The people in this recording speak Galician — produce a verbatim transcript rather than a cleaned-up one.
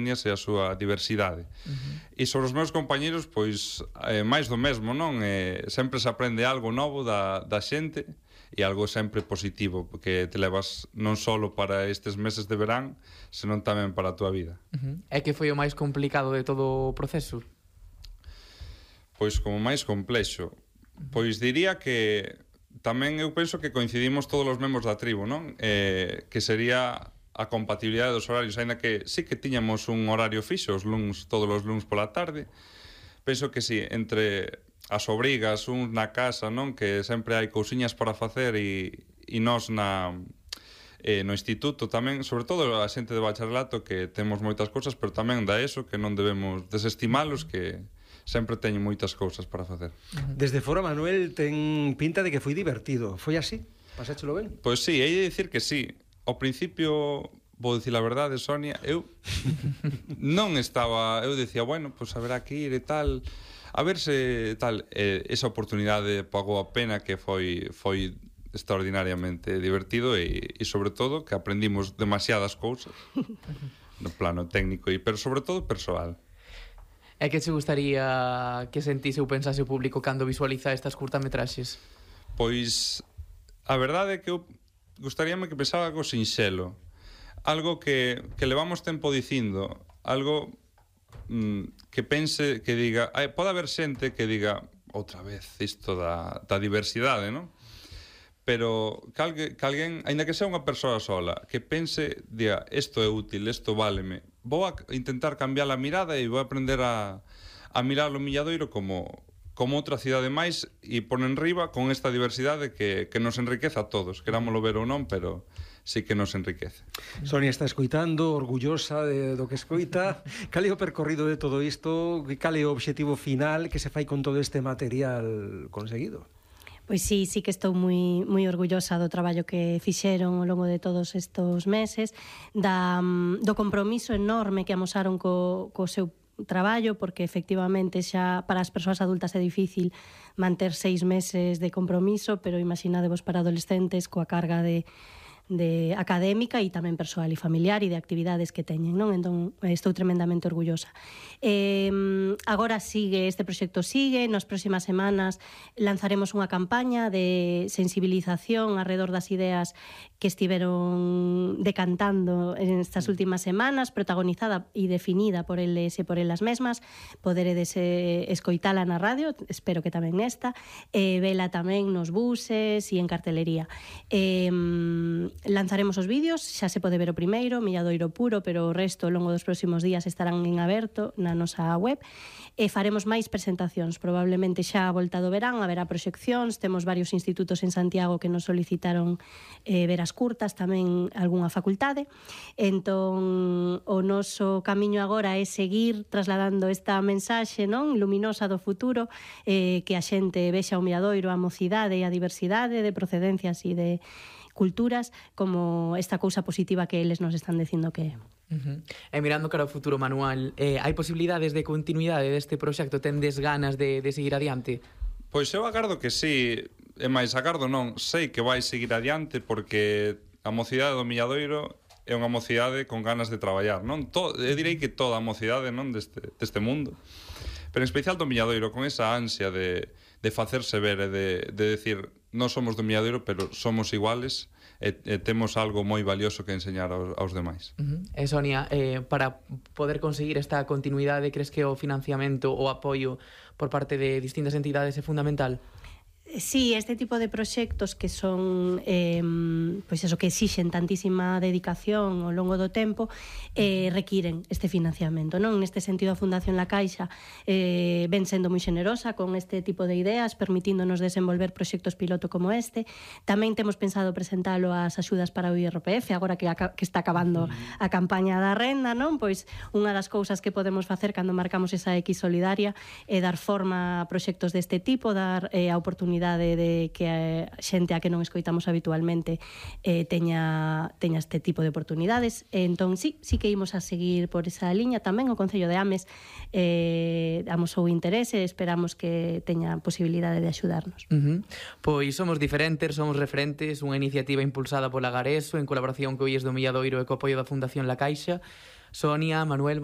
etnias e a súa diversidade. Uh-huh. E sobre os meus compañeros, pois, eh, máis do mesmo, non? Eh, sempre se aprende algo novo da, da xente e algo sempre positivo, porque te levas non só para estes meses de verán, senón tamén para a túa vida. Uh-huh. É que foi o máis complicado de todo o proceso? Pois como máis complexo, pois diría que tamén eu penso que coincidimos todos os membros da tribu, non? Eh, que sería a compatibilidade dos horarios, aínda que sí que tiñamos un horario fixo os luns, todos os luns pola tarde. Penso que sí, entre as obrigas, uns na casa, non? Que sempre hai cousiñas para facer e, e nós na, eh, no instituto tamén, sobre todo a xente de bacharelato que temos moitas cousas, pero tamén da eso que non debemos desestimalos, que sempre teño moitas cousas para facer. Desde fora, Manuel, ten pinta de que foi divertido. Foi así? Pasáchelo ben? Pois sí, hei de dicir que sí. Ao principio, vou dicir a verdade, Sonia, eu non estaba... Eu decía, bueno, pois haberá que ir e tal... A ver se tal... Eh, esa oportunidade pagou a pena, que foi foi extraordinariamente divertido e, e sobre todo, que aprendimos demasiadas cousas no plano técnico, e pero sobre todo persoal. É que che gustaría que sentise ou pensase o público cando visualiza estas curtametraxes? Pois a verdade é que eu gustaríame que pensaba algo sinxelo, algo que, que levamos tempo dicindo, algo mm, que pense, que diga, ai, pode haber xente que diga outra vez isto da, da diversidade, non? Pero que, algue, que alguén, aínda que sea unha persoa sola, que pense, diga, isto é útil, isto váleme, vou a intentar cambiar a mirada e vou aprender a, a mirar o Milladoiro como, como outra cidade máis e pon en riba con esta diversidade que, que nos enriquece a todos, querámoslo ver ou non, pero sí que nos enriquece. Sonia está escoitando, orgullosa de, do que escoita. Cal é o percorrido de todo isto? Cal é o obxectivo final que se fai con todo este material conseguido? Pois sí, sí que estou moi moi orgullosa do traballo que fixeron ao longo de todos estos meses, da, do compromiso enorme que amosaron co, co seu traballo, porque efectivamente xa para as persoas adultas é difícil manter seis meses de compromiso, pero imaginadevos para adolescentes coa carga de de académica e tamén persoal e familiar e de actividades que teñen, non? Entón, estou tremendamente orgullosa. Eh, agora sigue, este proxecto sigue, nas próximas semanas lanzaremos unha campaña de sensibilización alrededor das ideas que estiveron decantando en estas últimas semanas, protagonizada e definida por eles e por elas mesmas. Poderedes eh, escoitala na radio, espero que tamén nesta, e eh, vela tamén nos buses e en cartelería. Eh, lanzaremos os vídeos, xa se pode ver o primeiro, Milladoiro puro, pero o resto ao longo dos próximos días estarán en aberto na nosa web, e faremos máis presentacións, probablemente xa a volta do verán haberá proxeccións, temos varios institutos en Santiago que nos solicitaron eh, ver as curtas, tamén algunha facultade, entón o noso camiño agora é seguir trasladando esta mensaxe, non, luminosa do futuro, eh, que a xente vexa o Milladoiro, a mocidade e a diversidade de procedencias e de culturas como esta cousa positiva que eles nos están dicindo que é. Uh-huh. E mirando cara ao futuro, Manuel, eh, hai posibilidades de continuidade deste proxecto? Tendes ganas de, de seguir adiante? Pois eu agardo que sí, e máis agardo non, sei que vai seguir adiante, porque a mocidade do Milladoiro é unha mocidade con ganas de traballar, non? To, eu direi que toda a mocidade, non, deste, deste mundo, pero en especial do Milladoiro, con esa ansia de, de facerse ver e de, de decir, non somos do Milladoiro, pero somos iguales e, e temos algo moi valioso que enseñar aos, aos demais. Uh-huh. E Sonia, eh, para poder conseguir esta continuidade, crees que o financiamento ou apoio por parte de distintas entidades é fundamental? Sí, este tipo de proxectos que son eh, pois eso, que exixen tantísima dedicación ao longo do tempo eh, requiren este financiamento, non? Neste sentido a Fundación La Caixa eh, ven sendo moi generosa con este tipo de ideas, permitíndonos desenvolver proxectos piloto como este. Tamén temos pensado presentalo ás axudas para o I R P F agora que, a, que está acabando a campaña da renda, non? Pois unha das cousas que podemos facer cando marcamos esa X solidaria é dar forma a proxectos deste tipo, dar eh, a oportunidade de que a xente a que non escoitamos habitualmente eh, teña, teña este tipo de oportunidades. Entón, sí, sí que imos a seguir por esa liña. Tamén o Concello de Ames eh, amosou interese, esperamos que teña posibilidade de axudarnos. Uh-huh. Pois somos diferentes, somos referentes, unha iniciativa impulsada pola Gareso en colaboración co I E S do Milladoiro e co apoio da Fundación La Caixa. Sonia, Manuel, moi